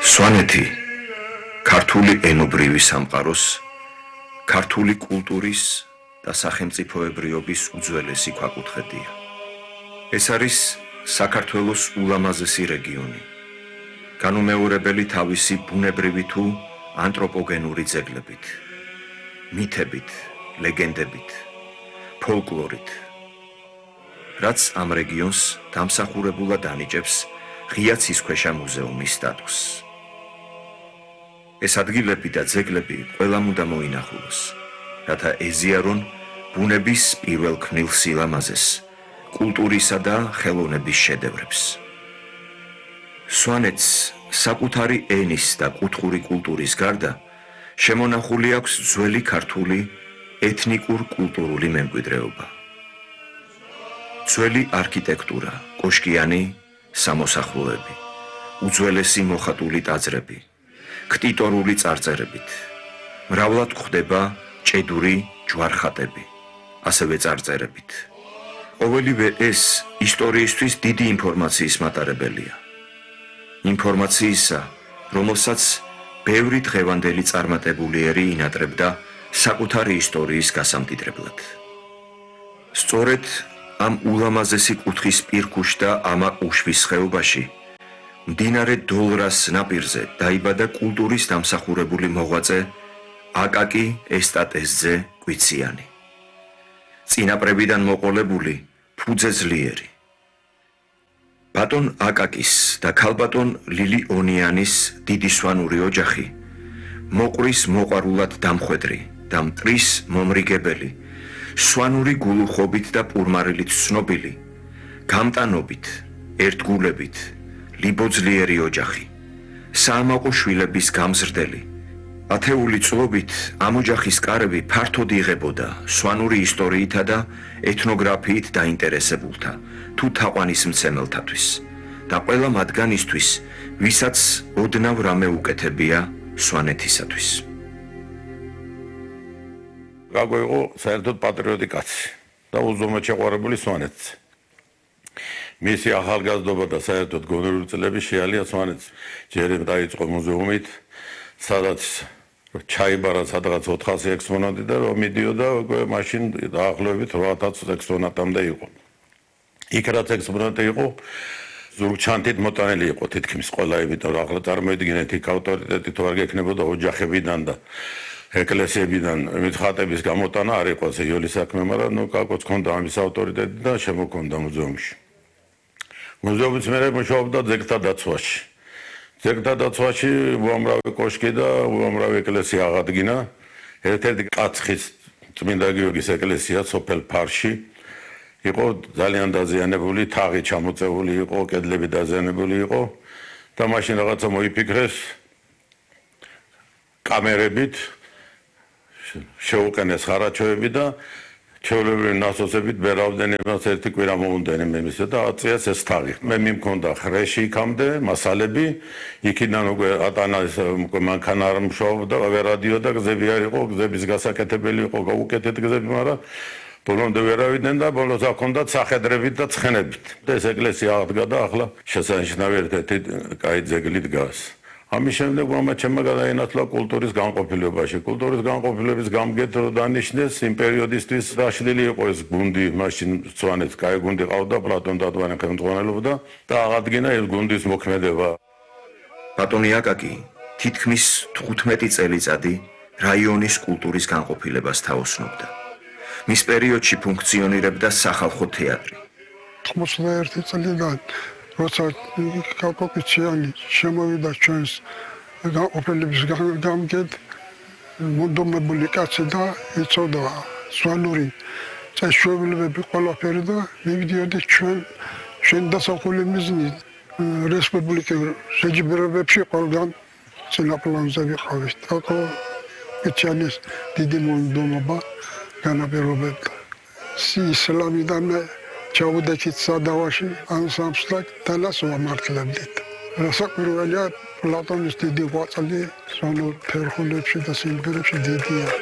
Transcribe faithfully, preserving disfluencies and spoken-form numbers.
სვანეთი ქართული ენობრივი სამყაროს, ქართული კულტურის და სახელმწიფოებრიობის უძველესი ქვაკუთხედია. ეს არის საქართველოს ულამაზესი რეგიონი, განუმეორებელი თავისი ბუნებრივი თუ ანთროპოგენური ძეგლებით, მითებით, ლეგენდებით, ფოლკლორით, რაც ამ რეგიონს დამსახურებულად ანიჭებს ღია ცისქვეშა მუზეუმის სტატუსს. ეს ადგილები და ძეგლები ყველამ უნდა მოინახულოს, რათა ეზიარონ ბუნების პირველ ქმნილ სილამაზეს, კულტურისა და ხელოვნების შედევრებს. სვანეთს საკუთარი ენის და კუთხური კულტურის გარდა შემონახული აქვს ძველი ქართული ეთნიკურ-კულტურული მემკვიდრეობა. ძველი არქიტექტურა, კოშკიანი სამოსახლოები, უძველესი მოხატული ტაძრები, ქტიტორული წარწერებით, მრავლად გვხვდება ჭედური ჯვარხატები, ასევე წარწერებით. ყოველივე ეს ისტორიისთვის დიდი ინფორმაციის მატარებელია. ინფორმაციისა, რომელსაც ბევრი დღევანდელი წარმატებულიერი ინატრებდა საკუთარი ისტორიის გასამდიდრებლად. სწორედ ამ ულამაზესი კუთხის პირქუშ და ამა უშვის ხეობაში, მდინარე დოლრას ნაპირზე დაიბადა კულტურის დამსახურებული მოღვაწე აკაკი ესტატესძე კვიციანი. წინაპრებიდან მოყოლებული ფუძე ძლიერი. ბატონ აკაკის და ქალბატონ ლილი ონიანის დიდი სვანური ოჯახი მოყრის მოყვარულად დამხვედრი და მტრის მომრიგებელი, სვანური გულუხობით და პურმარილით ცნობილი, გამტანობით, ერთგულებით, ლიბოძლიერი ოჯახი, საამაყო შვილების გამზრდელი. ათეული წლობით ამ ოჯახის კარები ფართოდ იღებოდა სვანური ისტორიითა და ეთნოგრაფიით დაინტერესებულთა თუ თაყვანისმცემელთათვის და ყველა მათგანისთვის, ვისაც ოდნავ რამე უკეთებია სვანეთისათვის. გაგო იყო საერთოდ პატრიოტი კაცი და უზომოდ შეყვარებული სვანეთს. მისი ახალგაზრდობა და საერთოდ გონივრული წლები შეალია სვანეთს. ჯერ დაიწყო მუზეუმით, სადაც ჩაიბარა სადღაც ოთხასი ექსპონატი და რომ მიდიოდა მაშინ დაახლოებით რვაათას ექსპონატამდე იყო. იქ რაც ექსპონატი იყო, ზურგჩანთით მოტანილი იყო თითქმის ყველა, იმიტომ რომ ახლა წარმოიდგინეთ, იქ ავტორიტეტი თუ არ გექნებოდა ოჯახებიდან და ეკლესიებიდან მითხატების გამოტანა არ იყო ზეიოლი საქმე, მაგრამ ნუ კაკოც ჰქონდა ამის ავტორიტეტი და შემოქონდა მუზეუმში. მუზეუმის მერე მუშაობდა ძეგლთა დაცვაში. ძეგლთა დაცვაში უამრავი კოშკი და უამრავი ეკლესია აღადგინა. ერთ-ერთი კაცხის წმინდა გიორგის ეკლესია სოფელ ფარში იყო ძალიან დაზიანებული, თაღი ჩამოწეული იყო, კედლები დაზიანებული იყო და მაშინ რაღაცა მოიფიქრეს კამერებით შეუყენეს ხარაჩოები და ჩვეულებრივი ნასოსებით ბერავდენებას ერთი კვირა მოუნდენი მემისა და აწიეს ეს თაღი. მე მიმქონდა ხრეში იქამდე მასალები, იქიდან უკვე ატანას მანქანა არ მუშაობდა, ვერადიო და გზები არ იყო, გზების გასაკეთებელი იყო, გაუკეთეთ გზები, მაგრამ ბოლომდე ვერავიდნენ და ბოლოს აქონდათ სახედრებით და ცხენებით. ეს ეკლესია აღდგა და ახლა შესანიშნავი ერთ-ერთი კაი ძეგლი დგას. ამის შემდეგ უამრავ ჩემმა გადაინაცვლა კულტურის განყოფილებაში. კულტურის განყოფილების გამგედ დანიშნეს იმ პერიოდისთვის დაშლილი იყო ეს გუნდი, მაშინ სვანეთს კაი გუნდი ყავდა, პლატონ დადვანი ხელმძღვანელობდა და აღადგინა ეს გუნდის მოქმედება. ბატონი აკაკი თითქმის თხუთმეტი წელიწადი რაიონის კულტურის განყოფილებას თაოსნობდა. მის პერიოდში ფუნქციონირებდა სახალხო თეატრი. თხმოცდაერთი წლიდან როცა აკაკი კვიციანი შემოვიდა ჩვენს განყოფილების გამგედ, მონდომებული კაცი და იცოდა სვანური წესჩვეულებები ყველაფერი და მივიდიოდი ჩვენ ჩვენ დასახული მიზნით რესპუბლიკურ შეჯიბრებებში ყველგან წინაპრებზე ვიყავით. აკაკი კვიციანის დიდი მონდომობა განაპირობებდა. ისლამიდან ჩაუდექით სადავაში ანსამბლს და დანას ვამართლებდით. რასაკვირველია, პლატონის დიდი ღვაწლი სვანურ ფერხულებში და სიმღერებში დიდია.